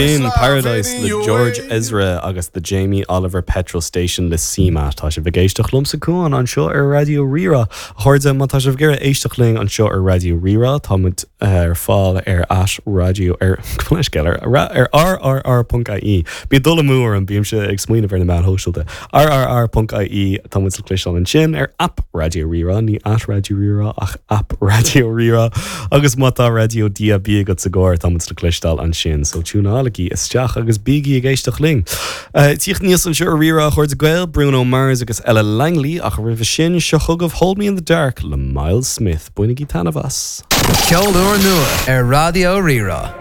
Sin Paradise le George Ezra agus The Jamie Oliver Petrol Station le CMAT. Tá sibh ag éisteacht liomsa Cuán anseo ar Raidió Rí-Rá. A chairde, má tá sibh ag iarraidh éisteacht linn anseo ar Raidió Rí-Rá, tá muid ar fáil ar at raidió ar leithscéal ar ar rrr.ie. Bíonn dul amú orm, bímse ag smaoineamh ar na meáin shóisialta. rrr.ie Tá muid le cloisteáil ansin ar aip Raidió Rí-Rá, ní at Raidió Rí-Rá ach aip Raidió Rí-Rá agus má tá raidió DAB agat sa gcarr tá muid le cloisteáil ansin so tiúnálaigí isteach agus bígí ag éisteacht linn. Tíocht aníos anseo ar Rí-Rá a chairde Gael, Bruno Mars agus Ella Langley ach roimhe sin seo chugaibh Hold Me In The Dark le Myles Smith. Bainigí taitneamh as. Ceol úr nua ar Raidió Rí-Rá.